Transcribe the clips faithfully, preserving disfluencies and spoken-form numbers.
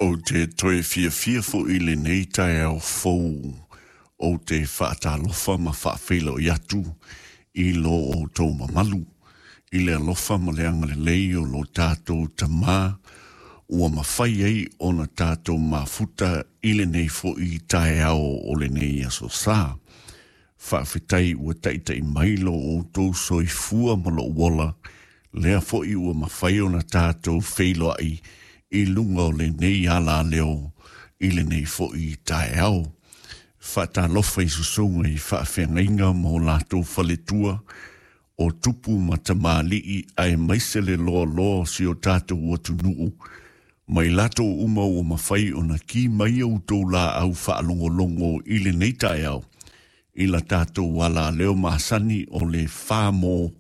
Ou te toe fiafia foʻi i lenei taeao fou. Ou te faatalofa ma faafeiloai atu i lo outou mamalu i le alofa ma le agalelei o lo tatou Tamā ua mafai ai ona tatou mafuta i lenei foʻi taeao o lenei aso sa. Faafetai ua taʻitaʻi mai lo outou soifua ma lou ola, lea foʻi ua mafai ona tatou feiloai i luga o lenei alaleo i lenei foʻi taeao. Faatalofa i susuga i faafeagaiga ma o latou faletua o tupu ma tamalii aemaise le loaloa o si o tatou atunuu ma i latou uma ua mafai ona ki mai outou laau faalogologo i lenei taeao i la tatou alaleo masani o le fa mo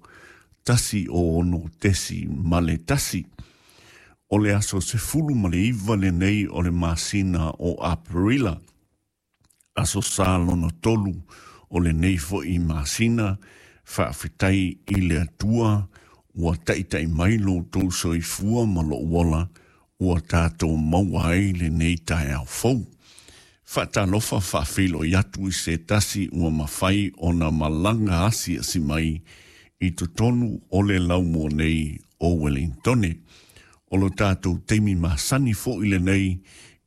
tasi o ono tesi ma le tasi. O le aso sefulu ma le iva lenei o le masina o Aperila, aso sa lona tolu o lenei foʻi masina. Faafetai i le Atua ua taʻitaʻi mai lo outou soifua ma lou ola ua tatou maua ai lenei taeao fou. Faatalofa faafeiloai atu i se tasi ua mafai ona malaga asiasi mai i totonu o le laumua nei o Wellingtone. O lo tatou taimi masani foʻi lenei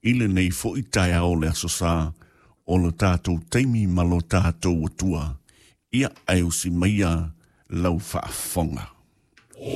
i lenei foʻi taeao o le aso sa, o lo tatou taimi ma lo tatou Atua. Ia, ae usi maia lau faafofoga.